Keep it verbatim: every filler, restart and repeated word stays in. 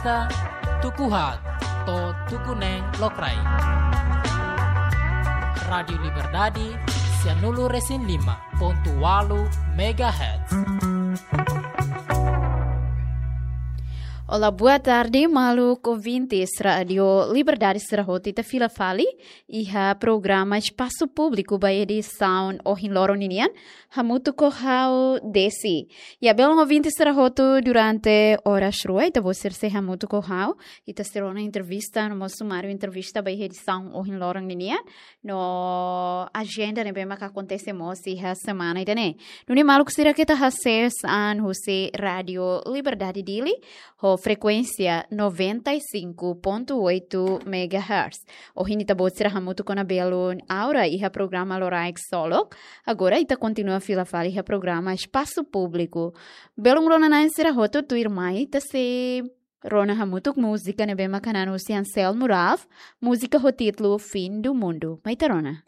Tuku haat to'o tuku neen lokraik. Rádiu Liberdade, sianulu resin lima pontu walu megahertz. Olá, boa tarde, maluk ouvintes Rádiu Liberdade sira hotu. Ita fila fali iha programa Espasu Públiku ba edisaun ohin loron ninian, hamutuk ho ha'u Desi. Ya, belun ouvinte sira hotu, durante oras rua ita-boot sira sei hamutuk ho ha'u, ita sei rona entrevista, no mós sumáriu entrevista ba iha edisaun ohin loron ninian, no ajenda ne'ebé maka akontese mós iha semana ida-ne'e. Nune'e maluk sira, keta hasees an husi Rádiu Liberdade Dili ho frekuénsia noventa e cinco ponto oito megahertz. Ohin ita-boot sira hamutuk ona belun Aura iha programa Loraik Solok. Agora ita kontinua fila fali iha programa Espasu Públiku. Belun rona-na'in sira hotu, tuirmai ita sei rona hamutuk múzika ne'ebé maka hanan husi Anselmo Ralph, múzika ho títulu Fim do Mundo. Mai ita rona.